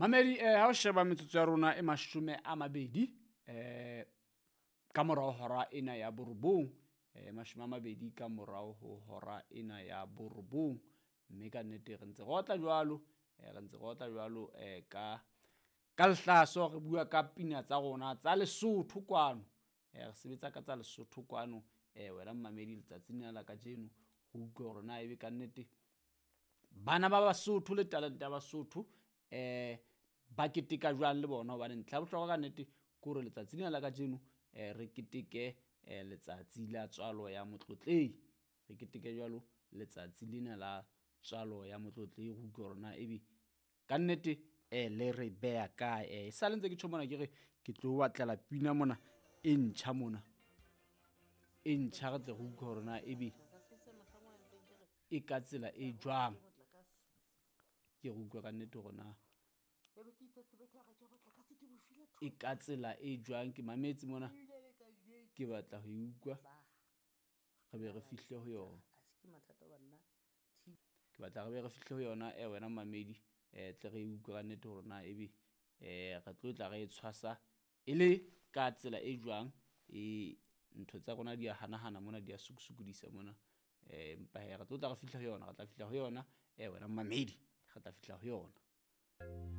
Mamedi, ha o sheba metsotso ya rona e 20 ka morao hora ena ya 9, 20 ka morao ho hora ena ya 9, mme ka nnete re ntse re otla jwalo, re ntse re otla jwalo ka lehlaso, re bua ka pina tsa rona tsa Lesotho kwano, re sebetsa ka tsa Lesotho kwano. Wena mmamedi, letsatsing lena la kajeno re utlwe hore na ebe ka nnete bana ba Basotho le talente ya Basotho ba keteka jwang le bona, hobane ntlha ya bohlokwa ka nnete ke hore letsatsi lena la kajeno re keteke letsatsi la tswalo ya Motlotlehi, re keteke jwalo letsatsi lena la tswalo ya Motlotlehi, re utlwe hore na ebe ka nnete le re beha kae. E sale ntse ke tjho mona, ke re ke tlo batlela pina mona e ntjha mona, e ntjha, re tle re utlwe hore na ebe e ka tsela e jwang. Ke re utlwe ka nnete hore na e ka tsela e jwang. Ke mametse mona, ke batla ho e utlwa, re be re fihle ho yona. Ke batla re be re fihle ho yona, wena mmamedi, tle re e utlwe ka nnete hore na ebe re tlo tla re e tshwasa e le ka tsela e jwang. Ntho tsa rona di a hanahana mona, di a sukusukodisa mona, empa hee re tlo tla re fihla ho yona, re tla fihla ho yona, wena mmamedi, re tla fihla ho yona.